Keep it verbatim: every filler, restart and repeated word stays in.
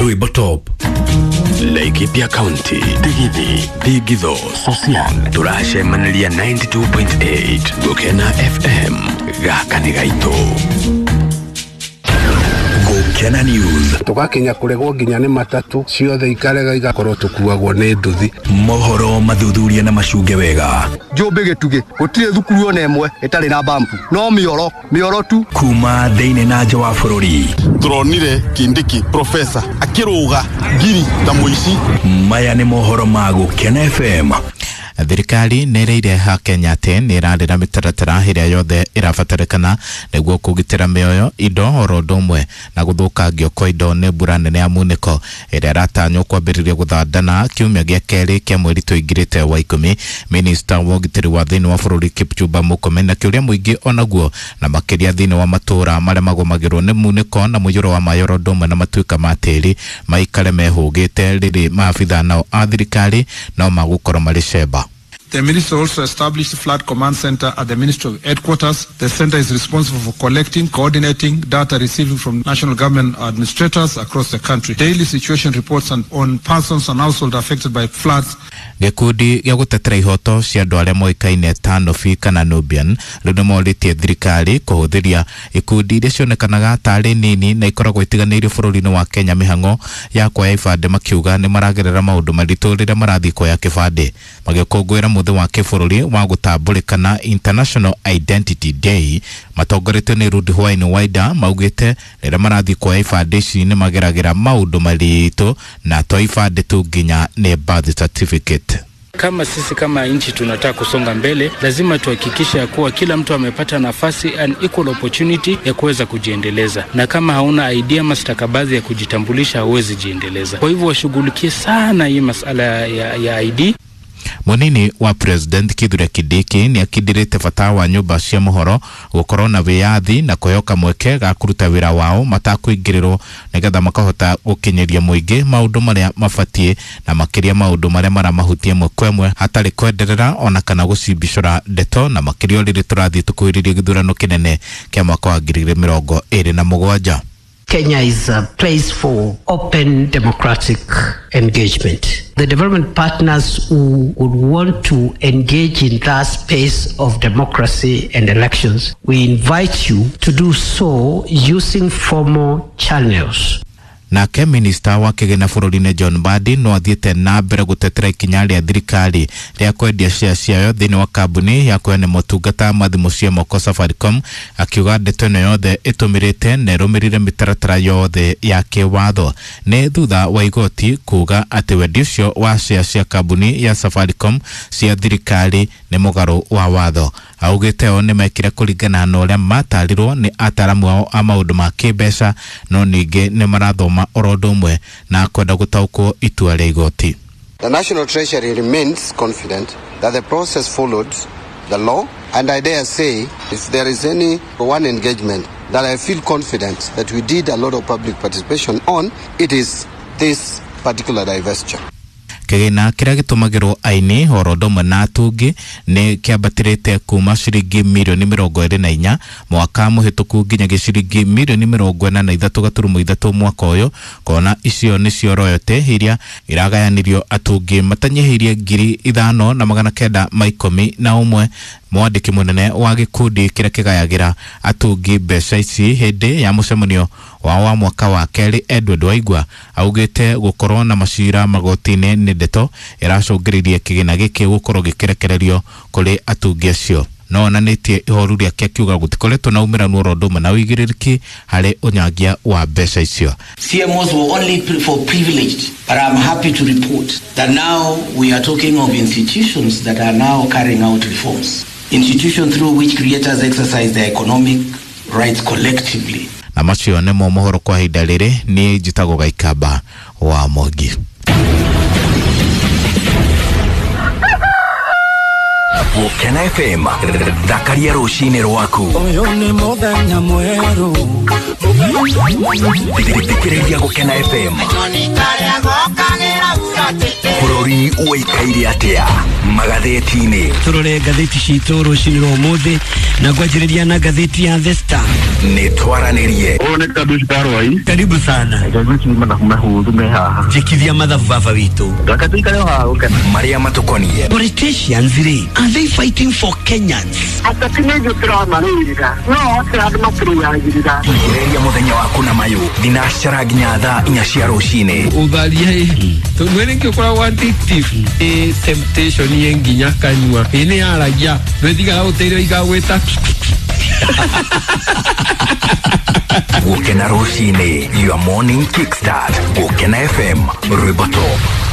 Rwimbo top. Laikipia County, Digithi, Digitho, Sosian, turacemaniria ninety two point eight Gukena F M gaka nĩ gaitũ. Gukena News. Tugakinya kuregwo nginya nĩ matatu ciothe ikarega igakorwo tukuagwo nĩ nduthi. Mohoro mathuthuria na macunge wega. Njũmbĩ gĩtugĩ gũtirĩ thukuru ona ĩmwe ĩtarĩ na bampu no mĩoro mĩoro tu kuma thĩinĩ na nja wa bũrũri. Turonire Kindiki professor akĩrũga ngiri ta mũici. Maya nĩ mohoro ma Gukena F M. Thirikari nĩ ĩrĩire ha Kenya atĩ nĩ ĩrarĩra mĩtaratara ĩrĩa yothe ĩrabatarĩkana nĩguo kũgitĩra mĩoyo, indo oro ũndũ ũmwe na gũthũkangio kwa indo nĩ mbura nene ya munĩko ĩrĩa ĩratanywo kwambĩrĩria gũthandana kiumia gĩa kerĩ kĩa mweri tũingĩrĩte wa ikũmi. Minista wa ũgitĩri wa thĩinĩ wa bũrũri Kipchumba Murkomen na kĩũria mũingĩ onaguo na makĩria thĩinĩ wa matũũra marĩa magũmagĩrwo nĩ munĩko na mũiyũro wa maĩ oro ũndũ ũmwe na matuĩka ma tĩri maikare mehũgĩte rĩrĩ maabitha nao a thirikari no magũkorwo marĩ cemba. The minister also established Flood Command Center at the Ministry of Headquarters. The center is responsible for collecting, coordinating data receiving from national government administrators across the country. Daily situation reports on, on persons and households affected by floods. Gĩkundi gĩa gũtetera ihoto cia andũ arĩa moĩkaine ta Nobi kana Nubian rĩu nĩmorĩtie thirikari kũhũthĩria ikundi iria cionekanaga tarĩ nini na ikoragwo itiganĩirio bũrũri-inĩ wa Kenya mĩhang'o ya kuoya ibandĩ, makiuga nĩ maragerera maũndũ maritũ rĩrĩa marathiĩ kuoya kĩbandĩ. Magĩkũngũĩra mũthĩ wa kĩbũrũri wa gũtambũrĩkana International Identity Day matongoretio nĩ Rudi Hwaini Waida maugĩte rĩrĩa marathiĩ kuoya ibandĩ ici nĩ mageragĩra maũndũ maritũ na to ibandĩ tu nginya nĩ birth certificate. Kama sisi kama nchi tunataka kusonga mbele, lazima tuhakikishe kuwa kila mtu amepata nafasi and equal opportunity ya kuweza kujiendeleza. Na kama hauna I D ama stakabadhi ya kujitambulisha, huwezi jiendeleza. Kwa hivyo washughulikie sana hii masala ya, ya I D. Munini wa President Kithure Kindiki nĩ akindĩrĩte bata wa nyũmba cia mohoro gũkorwo na wĩyathi na kũheo mweke ga kũruta wĩra wao matakũingĩrĩrwo nĩgetha makahota gũkinyĩria mũingĩ maũndũ marĩa mabatiĩ na makĩria maũndũ marĩa maramahutia ĩmwe kwa ĩmwe hatarĩ kwenderera ona kana gũcimbicũra ndeto, na makĩria rĩrĩ tũrathiĩ tũkuhĩrĩria gĩthurano kĩnene kĩa mwaka wa ngiri igĩrĩ mĩrongo ĩrĩ na mũgwanja. Kenya is a place for open democratic engagement. The development partners who would want to engage in that space of democracy and elections, we invite you to do so using formal channels. Nake minista wa kĩgĩna bũrũri-inĩ John Mbadi no athiĩte na mbere gũtetera ikinya rĩa thirikari rĩa kwendia share ciayo thĩinĩ wa kambuni ya kũheana motungata ma thimũ cia moko Safaricom, akiuga ndeto ĩno yothe ĩtũmĩrĩte na ĩrũmĩrĩire mĩtaratara yothe ya kĩwatho. Nĩ thutha wa igoti kuga atĩ wendia ũcio wa share cia kambuni ya Safaricom cia thirikari nĩ mũgarũ wa watho. Augĩte o nĩ mekire kũringana na ũrĩa matarirwo nĩ ataramu ao a maũndũ ma kĩmbeca, no ningĩ nĩ marathoma oro ũndũ ũmwe na kwenda gũtaũkwo itua rĩa igoti. The National Treasury remains confident that the process followed the law, and I dare say if there is any one engagement that I feel confident that we did a lot of public participation on, it is this particular divestiture. Kĩgĩna kĩrĩa gĩtũmagĩrwo aini oro ũndũ ũmwe na atungi nĩ kĩambatĩrĩte kuma ciringi mirioni mĩrongo ĩrĩ na inya mwaka mũhĩtũku nginya ciringi mirioni mĩrongo ĩna na ithatũ gaturumo ithatũ mwaka ũyũ, kona icio nĩcio royalty iria iragayanirio atungi matanyihĩirie ngiri ithano na magana kenda ma ikũmi na ũmwe. Mwandĩki mũnene wa gĩkundi kĩrĩa kĩgayagĩra atungi mbeca ici hĩndĩ ya mũcemanio wao wa mwaka wa kerĩ Edward Waigua augĩte gũkorwo na macira magoti-inĩ nĩ ndeto ĩracũngĩrĩirie kĩgĩna gĩkĩ gũkorwo gĩkĩrekererio kũrĩ atungi acio. No onanĩtie ihoru rĩake akiuga gũtikoretwo na umĩranu oro ũndũ ũmwe na ũigĩrĩrĩki harĩ ũnyangia wa mbeca icio. C M Os were only for privileged, but I'm happy to report that now we are talking of institutions that are now carrying out reforms. Institutions through which creators exercise their economic rights collectively. Na macio nĩmo mohoro kwa ihinda rĩrĩ. Niĩ njĩtagwo Gaikamba wa Mwangi. Gũkena F M thakaria rũcinĩ rwaku. Ũyũ nĩ mũthenya mwerũ. Thikĩrĩria Gũkena F M. Bũrũri ũikaire atĩa magathĩti-inĩ. Tũrore ngathĩti citũ rũcinĩ rwa ũmũthĩ na ngwanjĩrĩria na ngathĩti ya The Star. Nĩ twaranĩrie. Ũyũ nĩ Kadush Karwai. Karibu sana. Njĩkithia mathabu baba witũ. Marĩa matũkoniĩ. Politicians rĩ, are they fighting for Kenyans? Ateti nĩ ithuĩ tũramarũĩrĩra no othe andũ matũrũagĩrĩra. Thikĩrĩria mũthenya waku na mayũ thinacara nginya thaa inya cia rũcinĩ. Ũtharia tondũ nĩkĩo ũkoragwo addictive ĩ temptation ĩ nginya kanyua ĩ nĩ yaragia ndwĩtigaga gũteithio igagwĩta. Gũkena rũcinĩ, your morning kickstart. Gũkena F M, rwĩmbo top.